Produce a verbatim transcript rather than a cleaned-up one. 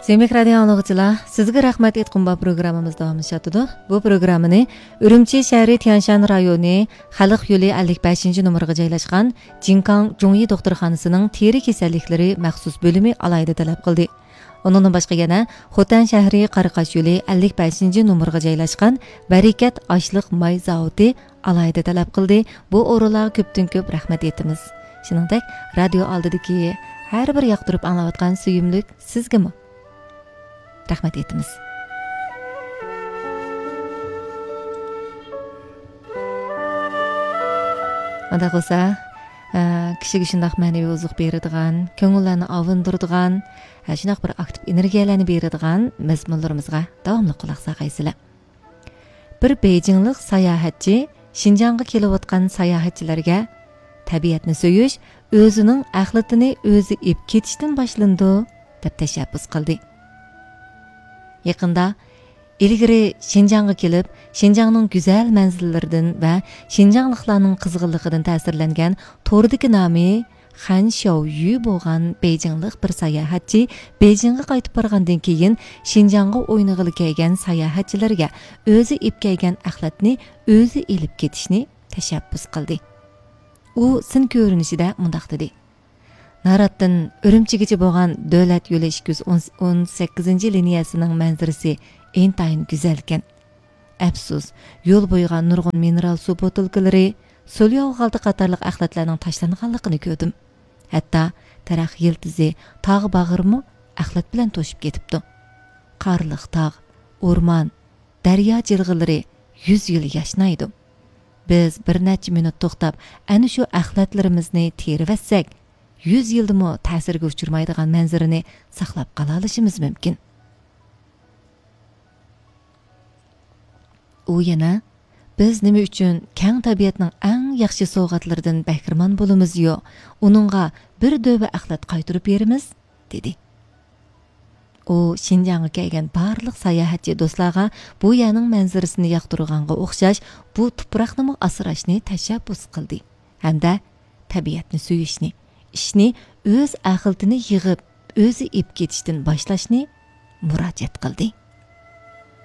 سۆيۈملۈك رادىيو ئاڭلىغۇچىلار، سىزگە رەھمەت ئېيتقۇم بار پروگراممىمىز داۋاملىشىۋاتىدۇ. بۇ پروگراممىنى ئۈرۈمچى شەھىرى تيەنشان رايونى خەلق يولى ئەللىك بەشىنچى نومۇرغا جايلاشقان جىنكاڭ جۇڭيى دوختۇرخانىسىنىڭ تېرە كېسەللىكلىرى مەخسۇس بۆلۈمى ئالاھىدە تەلەپ قىلدى. ئۇنىڭدىن باشقا يەنە خوتەن شەھىرى قاراقاش يولى ئەللىك بەشىنچى نومۇرغا جايلاشقان بەرىكەت ئاشلىق ماي زاۋۇتى ئالاھىدە تەلەپ قىلدى. بۇ ئورۇنلارغا كۆپتىن كۆپ رەھمەت ئېيتىمىز. شۇنىڭدەك رادىيو ئالدىدىكى ھەر بىر ياقتۇرۇپ ئاڭلاۋاتقان سۆيۈملۈك سىزگىمۇ رەھمەت ئېيتىمىز. ئۇنداق بولسا، ئە، كىشىگە شۇنداق مەنىۋى ئوزۇق بېرىدىغان، كۆڭۈللەرنى ئاۋۇندۇرىدىغان، ئە، شۇنداق بىر ئاكتىپ ئېنېرگىيەلەرنى بېرىدىغان مەزمۇنلىرىمىزغا داۋاملىق قۇلاق سالغايسىلەر. بىر بېيجىڭلىق ساياھەتچى شىنجاڭغا كېلىۋاتقان ساياھەتچىلەرگە تەبىئەتنى سۆيۈش ئۆزىنىڭ ئەخلىتىنى ئۆزى ئېپ كېتىشتىن باشلىنىدۇ، دەپ تەشەببۇس قىلدى. يېقىندا ئىلگىرى شىنجاڭغا كېلىپ، شىنجاڭنىڭ گۈزەل مەنزىرىلىرىدىن ۋە شىنجاڭلىقلارنىڭ قىزغىنلىقىدىن تەسىرلەنگەن توردىكى نامى خەن شياۋيۈ بولغان بېيجىڭلىق بىر ساياھەتچى بېيجىڭغا قايتىپ بارغاندىن كېيىن، شىنجاڭغا ئوينىغىلى كەلگەن ساياھەتچىلەرگە ئۆزى ئېپ كەلگەن ئەخلەتنى ئۆزى ئېلىپ كېتىشنى تەشەببۇس قىلدى. ئۇ سىن كۆرۈنۈشىدە مۇنداق دېدى: ناراتتىن ئۈرۈمچىگىچە بولغان دۆلەت يولى ئىككى يۈز ئون سەككىزىنچى لىنىيەسىنىڭ مەنزىرىسى ئىنتايىن گۈزەلكەن. ئەپسۇس، يول بويىغا نۇرغۇن مىنېرال سۇ بوتۇلكىلىرى، سولياۋ خالتا قاتارلىق ئەخلەتلەرنىڭ تاشلانغانلىقىنى كۆردۈم. ھەتتا تەرەخ يىلتىزى، تاغ باغرىمۇ ئەخلەت بىلەن توشۇپ كېتىپتۇ. قارلىق تاغ، ئورمان، دەريا جىلغىلىرى يۈز يىل ياشنايدۇ. بىز بىر نەچچە مىنۇت توختاپ، ئەنە شۇ ئەخلەتلىرىمىزنى تېرىۋەتسەك، يۈز يىلدىمۇ تەسىرگە ئۇچرىمايدىغان مەنزىرىنى ساقلاپ قالالىشىمىز مۇمكىن. ئۇ يەنە، بىز نېمە ئۈچۈن كەڭ تەبىئەتنىڭ ئەڭ ياخشى سوۋغاتلىرىدىن بەھرىمەن بولىمىزيۇ، ئۇنىڭغا بىر دۆۋە ئەخلەت قايتۇرۇپ بېرىمىز؟ دېدى. ئۇ شىنجاڭغا كەلگەن بارلىق ساياھەتچى دوستلارغا بۇ يەرنىڭ مەنزىرىسىنى ياقتۇرغانغا ئوخشاش، بۇ تۇپراقنىمۇ ئاسراشنى تەشەببۇس قىلدى ھەمدە تەبىئەتنى سۆيۈشنى، ئىشنى ئۆز ئەخلىتىنى يىغىپ، ئۆزى ئېپ كېتىشتىن باشلاشنى مۇراجىئەت قىلدى.